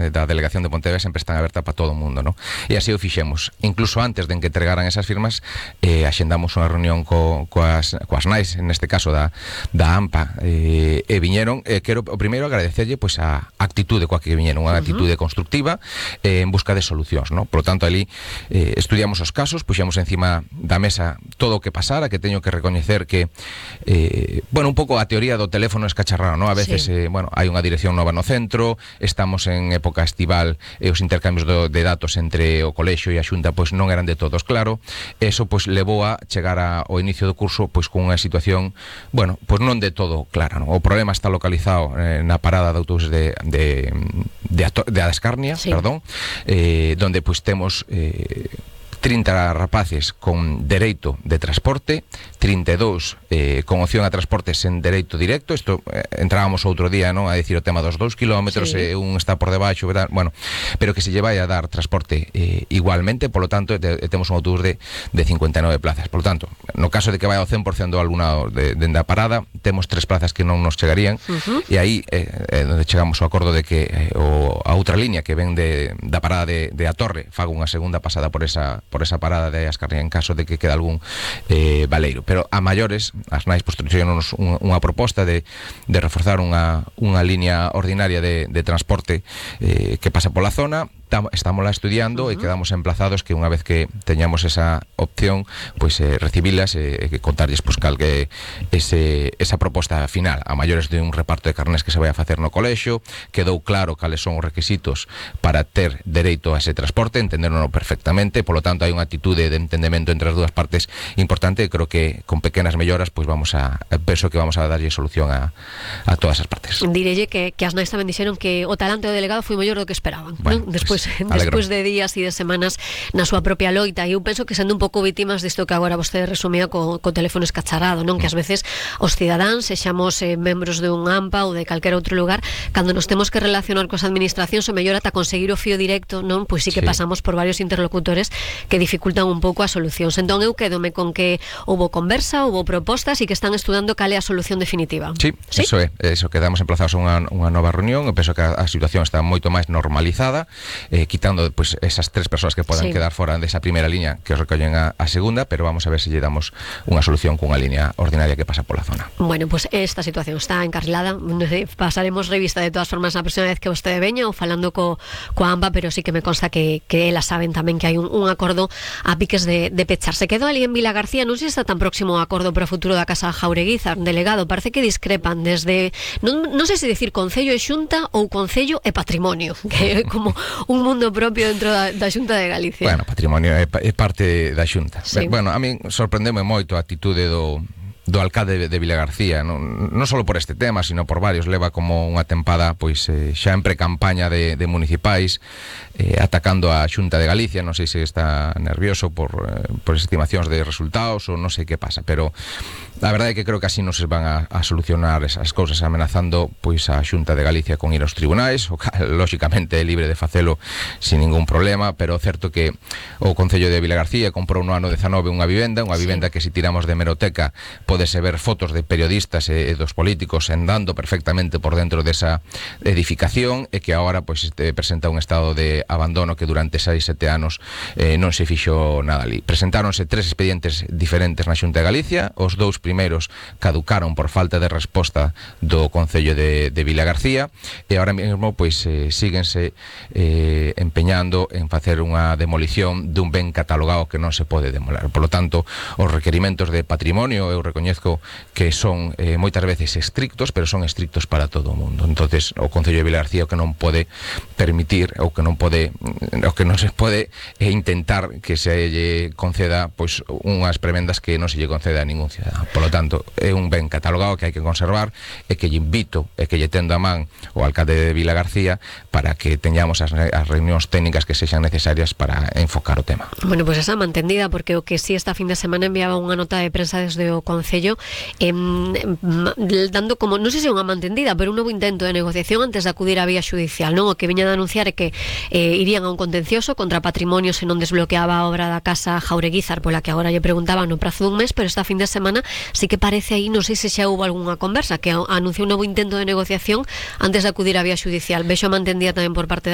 da Delegación de Pontevedra sempre están abertas para todo o mundo, ¿no? E así o fixemos. Incluso antes de que entregaran esas firmas, axendamos unha reunión coas nais, neste caso da AMPA, e viñeron. Quero o primeiro agradecerlle pois a actitude coa que viñeron, unha actitude constructiva en busca de solucións, ¿no? Por lo tanto, ali estudiamos os casos, puxemos encima da mesa todo o que pasara, que teño que recoñecer que bueno, un pouco a teoría do teléfono escacharrado, ¿no? A veces, bueno, hai unha dirección nova no centro, estamos en época estival e os intercambios de datos entre o colexio e a Xunta pois non eran de todos claro. Eso pois levou a chegar ao inicio do curso pois con unha situación, bueno, pois non de todo clara, ¿no? O problema está localizado na parada de autobuses de Ascarnia, perdón, donde pois temos 30 rapaces con dereito de transporte, 32 con opción a transporte sen dereito directo. Isto entrábamos outro día, non, a decir o tema dos 2 kilómetros, un está por debaixo, verdad? Bueno, pero que se lle vai a dar transporte igualmente. Por lo tanto, temos un autobús de 59 plazas. Por lo tanto, no caso de que vai ao 100% do alumnado dende a parada, temos 3 plazas que non nos chegarían, e aí onde chegamos ao acordo de que a outra línea que ven da parada de A Torre faga unha segunda pasada por esa parada de Ascarnia en caso de que quede algún baleiro. Pero a maiores, as nais postruíronos unha proposta de reforzar unha línea ordinaria de transporte que pasa pola zona. Estamos lá estudiando e quedamos emplazados que unha vez que teñamos esa opción, pois recibilas e contarlles pois cal que esa proposta final a maiores de un reparto de carnés que se vai a facer no colexio. Quedou claro cales son os requisitos para ter dereito a ese transporte, entenderono perfectamente. Por lo tanto, hai unha actitude de entendemento entre as dúas partes importante, e creo que con pequenas melloras pois penso que vamos a darlle solución a todas as partes. Direlle que as nais tamén dixeron que o talante do delegado foi mellor do que esperaban, bueno, ¿no? Despois de días e de semanas na súa propia loita, e eu penso que sendo un pouco vítimas disto que agora vostede resumía co teléfono escacharrado, non? Que ás veces os cidadáns, sexamos membros de un AMPA ou de calquer outro lugar, cando nos temos que relacionar coas administracións, o mellor ata conseguir o fío directo, non? Pois sí que pasamos por varios interlocutores que dificultan un pouco as solucións. Entón eu quedome con que houbo conversa, houbo propostas e que están estudando cal é a solución definitiva. Sí, eso é, eso, quedamos emplazados a unha nova reunión. Eu penso que a situación está moito máis normalizada, quitando pues, esas 3 persoas que podan quedar fora desa primeira liña que os recollen a segunda, pero vamos a ver se lle damos unha solución cunha liña ordinaria que pasa pola zona. Bueno, pues esta situación está encarrilada. Pasaremos revista de todas formas a próxima vez que vostede veña ou falando coa AMPA, pero sí que me consta que elas saben tamén que hai un acordo a piques de pechar. Se quedou ali en Vila García, non sei se está tan próximo ao acordo para o futuro da Casa Jaureguizar, delegado, parece que discrepan desde, non sei se decir Concello e Xunta ou Concello e Patrimonio, que é como un mundo propio dentro da Xunta de Galicia. Bueno, Patrimonio é parte da Xunta. Bueno, a min sorprendeme moito a atitude do alcalde de Vila García, non só por este tema, sino por varios. Leva como unha tempada pois xa en pre-campaña de municipais, atacando a Xunta de Galicia. Non sei se está nervioso por estimacións de resultados ou non sei que pasa, pero a verdade é que creo que así non se van a solucionar esas cousas, amenazando pois a Xunta de Galicia con ir aos tribunais, o cal lóxicamente é libre de facelo sin ningún problema. Pero certo que o Concello de Vila García comprou no ano 19 unha vivenda que se tiramos de hemeroteca podese ver fotos de periodistas e dos políticos andando perfectamente por dentro desa edificación, e que agora pois presenta un estado de abandono que durante 6-7 anos non se fixo nada ali. Presentáronse 3 expedientes diferentes na Xunta de Galicia. Os 2 primeiros caducaron por falta de resposta do Concello de Vila García, e agora mesmo pois síguense empeñando en facer unha demolición dun ben catalogado que non se pode demoler. Por lo tanto, os requerimentos de patrimonio eu recoñezco que son moitas veces estrictos, pero son estrictos para todo o mundo. Entonces, o Concello de Vila García o que non pode permitir, o que non se pode intentar que se lle conceda pois unhas prebendas que non se lle conceda a ningún cidadán. Por lo tanto, é un ben catalogado que hai que conservar, e que lle invito e que lle tendo a man o alcalde de Vila García para que teñamos as reunións técnicas que sexan necesarias para enfocar o tema. Bueno, pois esa mantendida, porque o que si esta fin de semana enviaba unha nota de prensa desde o Concello dando como, non sei se é unha mantendida, pero un novo intento de negociación antes de acudir á vía xudicial, non? O que viña de anunciar é que irían a un contencioso contra patrimonio se non desbloqueaba a obra da Casa Jaureguizar, pola que agora lle preguntaban no prazo dun mes, pero esta fin de semana sí que parece aí, non sei se xa houve algunha conversa, que anuncia un novo intento de negociación antes de acudir á vía xudicial. Vexo mantendida tamén por parte